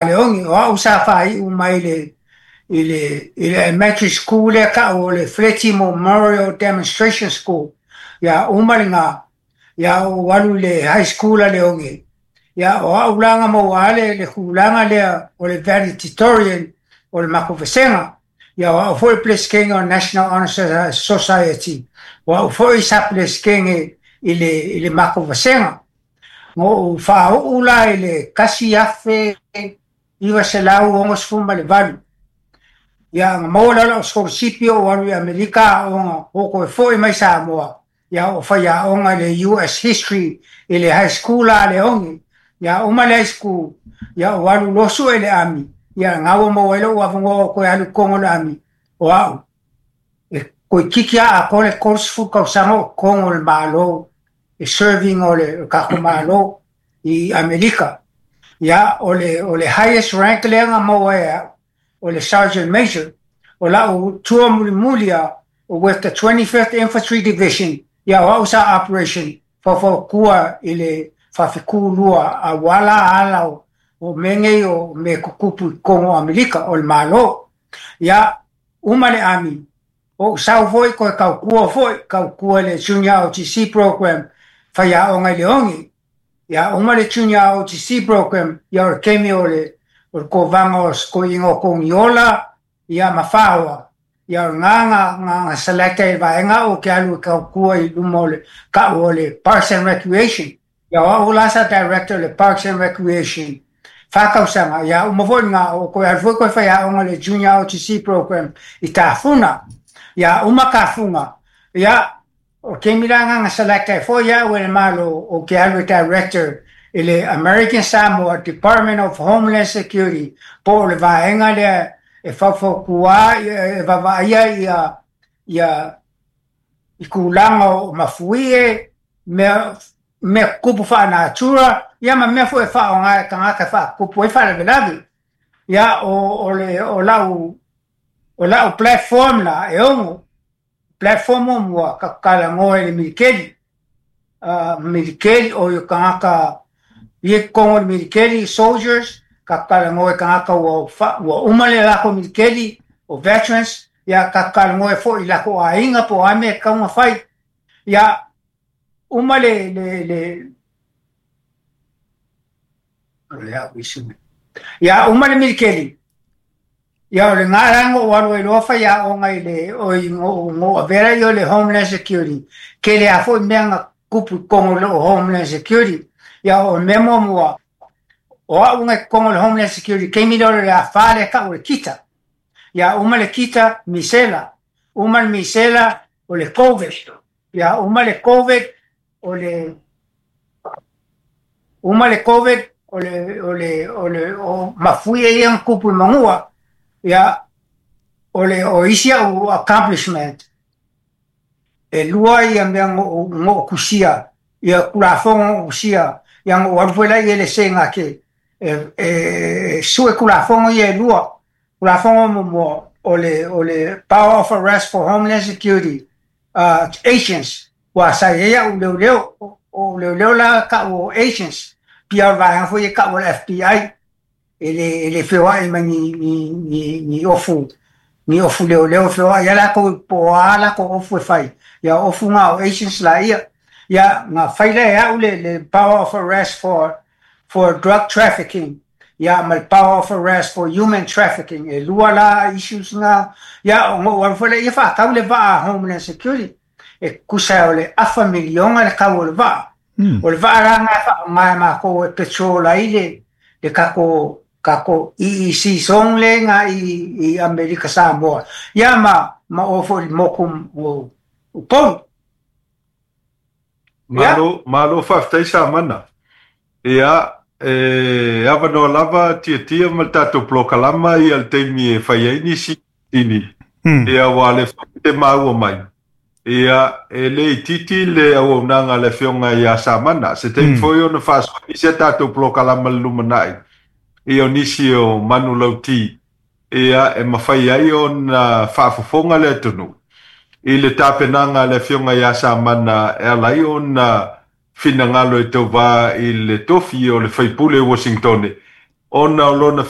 Leogi, o au sa faaiu mai i le elementary school lea tau o le Feleti Memorial Demonstration School. Ia uma lena, ia ou alu i le high school a Leogi. Ia o au la na maua le tulaga lea o le valedictorian o le matou vasega. Ia o au foi le peresetene o National Honor Society. O au foi sa peresetene i le matou vasega. Na ou faauu la i le 1968. Ia na maua lea o lau sikolasipi ou alu i Amerika aoga, ou toe foi mai Samoa. Ia ou faiaoga i le US History i le high school a Leogi. Ia uma le high school, ia ou alu loa sue i le army. Ia na ua maua ai lou avanoa o toe alu i totonu o le army o au. E toeitiiti lava atoa le 30 tausaga o totonu o le Malo, e serving o le tatou Malo i Amerika. Ia o le highest rank lea na maua e au, o le Sergeant Major. O lau tour mulimuli lava, with the 25th Infantry Division, ia o au sa operation faufautua i le faafetulua auala ala o mea nei o mea tutupu i totonu o Amerika o le Malo. Ia uma le army, ou sau foi toe tautua foi, tautua i le Junior ROTC program, faiaoga i Leogi. Ia uma le Junior ROTC program, ia o le taimi o le kovaga o toeaiina o Togiola, ia ma Faoa. Ia o lena na select ai e vaega au ke alu e tautua i luma o le tau o le Parks and Recreation. Ia o au la sa director o le Parks and Recreation 4 tausaga. Ia uma foi lena, o toe alu foi toe faiaoga le Junior ROTC program i Tafuna. Ia uma Tafuna, ia o taimi la na select ai foi au e le Malo o ke alu e director i le American Samoa Department of Homeland Security, po o le vaega lea e faufautua e vaavaaia ia i tulaga o mafuie, mea tutupu faanatura, ia ma mea foi e faaaoga e tagata e faatupu ai faalavelave. Ia o lau platform la e ono platform muamua ka talanoa i le militeli, militeli o i tagata ia totonu o le militeli, soldiers, ka talanoa i tagata ua uma le latou militeli, o veterans. Ia ka talanoa foi i latou aiga po o a mea e tatau ona fai. Ia uma le o le au isi mea. Ia uma le militeli. Ia o le la na ou alu ai loa faiaoga i le oi no avea ia o le Homeland Security. Tele a foi mea na tupu i totonu o le Homeland Security. Ia o le mea muamua, o au na i totonu o le Homeland Security, taimi lea o le afa lea tau o le Kita. Ia uma le Kita, misela. Uma le misela, o le COVID. Ia uma le COVID, o le uma le COVID, o le o mafuie ia na tupu i Manua. Ia o le o isi au accomplishment e lua ia mea no kusia ia kulafono o kusia ia no alu foi la i le senga ke e sue kulafono ia e lua. Kulafono muamua o le power of arrest for Homeland Security agents ua sa i ai au leoleo o leoleo la tau o agents pia o le vaega foi e tau o le FBI e le feoai mai ni ofu leoleo feoai ia latou po o a latou ofu e fai. Ia ofu nga o agents la ia ia na fai lea e au le power of arrest for drug trafficking, ia ma le power of arrest for human trafficking. E lua la issues nga. Ia o ngou alu foi lea ia faatau le vaa Homeland Security e tusa o le afa miliona le kau o le vaa. O le vaa la nga e faaaoga e matou e patrol ai le kako EEC zone le nga i Amerika Samoa. Ia ma o foi i moku o Upolu. Malo, malo faafetai Samana. Ia, e avanoa lava Tiatia ma le tatou polokalama ia le taimi e fai ai nisi ini. Ia ua le te maua mai. Ia, e le itiiti le auaunaga a le afioga ia Samana. Se taimi foi ona faasoa nisi a tatou polokalama le lumanai. Ia o nisi o manulauti. Ia, e mafai ai ona faafofoga le atunuu i le tapenaga a le afioga ia Samana e ala ai ona finagalo e tauvā i le tofi o le faipule o Washington. Ona o lona.